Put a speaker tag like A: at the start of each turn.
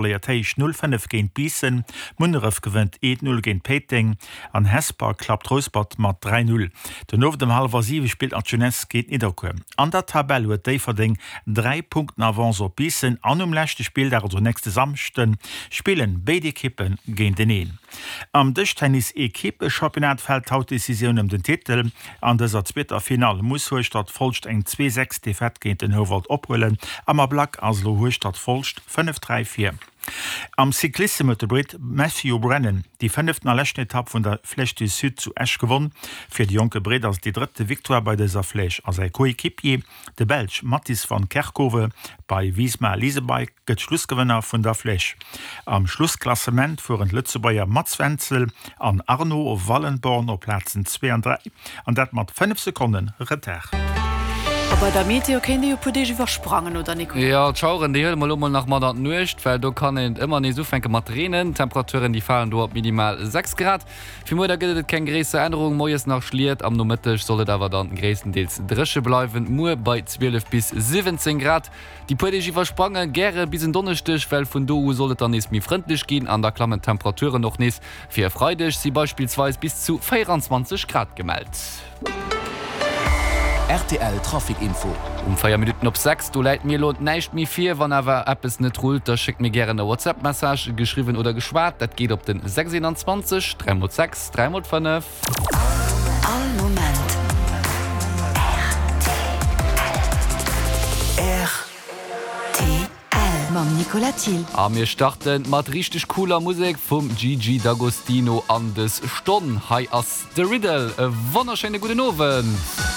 A: Verléiert héich 0, 5 géint Biissen, Munneref gewënnt 1, 0 géint Péiteng an Hesper klappt Rouspert mat 3, 0. Den Owend ëm hallwer 7 spillt nach d'Jeunesse géint Nidderkuer. An der Tabell huet Déifferdeng 3 Punkten Avance op Biissen an um leschte Spilldag, also nächste Samschden, spillen béid Ekippe géinteneen. Am Dëschtennis-Ekippe-Championnat fält haut d'Decisioun ëm den Titel. An dëser zweeter Finall muss Hueschtert-Folscht eng 2, 6 Defaite géint den Houwald ophuelen. Am Ablack ass elo Hueschtert-Folscht 5, 3 vir. Am Cyclissem huet de Britt Matthew Brennan déi fënneften a leschten Etapp vun der Flèche du Sud zu Esch gewonn. Fir de jonke Britt ass et déi drëtte Victoire bei dëser Flèche a säi Coéquipier, de Belsch Mattis van Kerkhove bei Visma Lease a Bike, gëtt Schlussgewënner vun der Flèche. Am Schlussklassement fueren d'Lëtzebuerger Mats Wenzel an Arno Wallenborn op Plazen 2 an 3, an dat mat 5 Sekonne Retard.
B: A bei der Meteo kéint ee jo puer Deeg iwwersprangen, oder Nicolas?
C: Jo, d'Schaueren déi huele mer elo mol nach mat an d'Nuecht, well do kann et ëmmer nees ufänke mat reenen. D'Temperaturen déi falen do op minimal 6 Grad. Fir muer da gëtt et keng gréisser Ännerung, moies nach Schliet, am Nomëtteg soll et awer dann gréisstendeels dréche bleiwen, muer bei 12 bis 17 Grad. Déi puer Deeg iwwersprange gäre bis en Donneschdeg, well vun do u soll et dann nees méi frëndlech ginn an da klammen d'Temperaturen och nees. Fir e Freideg si beispillsweis bis zu 24 Grad gemellt.
D: Rtl Trafic Info.
C: Um 4 Minutten op 6, do läit mir elo näischt méi vir. Wann awer eppes net rullt, da schéckt mir gären e WhatsApp Message, geschriwwen oder geschwat. Dat geet op den 6 21 3 x 6 3 x 5.
E: All Moment rtl. Mam Nicolas Thill.
C: A mir starten mat richteg cooler Musek vum Gigi D'Agostino an des Stonn. Hei ass de Riddle. E wonnerschéine gudden Owend.